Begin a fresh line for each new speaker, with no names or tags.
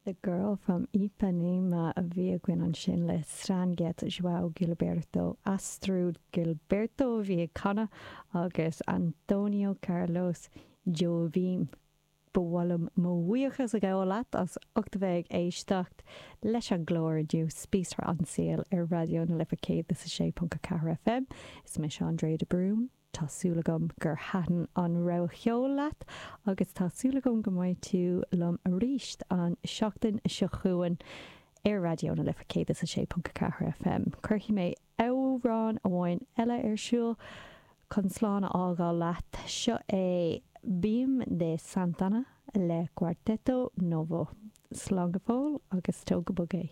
The Girl from Ipanema a bhí againn ansin le Stan Getz, João Gilberto, Astrud Gilberto a bhí ag canadh agus Antonio Carlos Jobim. Ba mhaith liom mo bhuíochas a ghabháil leat as ucht a bheith ag éisteacht leis an gclár inniu, Spíosra an tSaoil ar Raidió na Life 106.4 FM. Is mise Andrea de Brún. Tá súil agam gur thaitin an rogha cheoil leat agus tá súil agam go mbeidh tú liom arís an seachtain seo chugainn ar Raidió na Life 106.4 FM. Cuirfidh mé amhrán amháin eile ar siúl chun slán a fhágáil leat. Seo é Bim de Santana le Quarteto Novo. Slán go fóill agus tóg go bog é.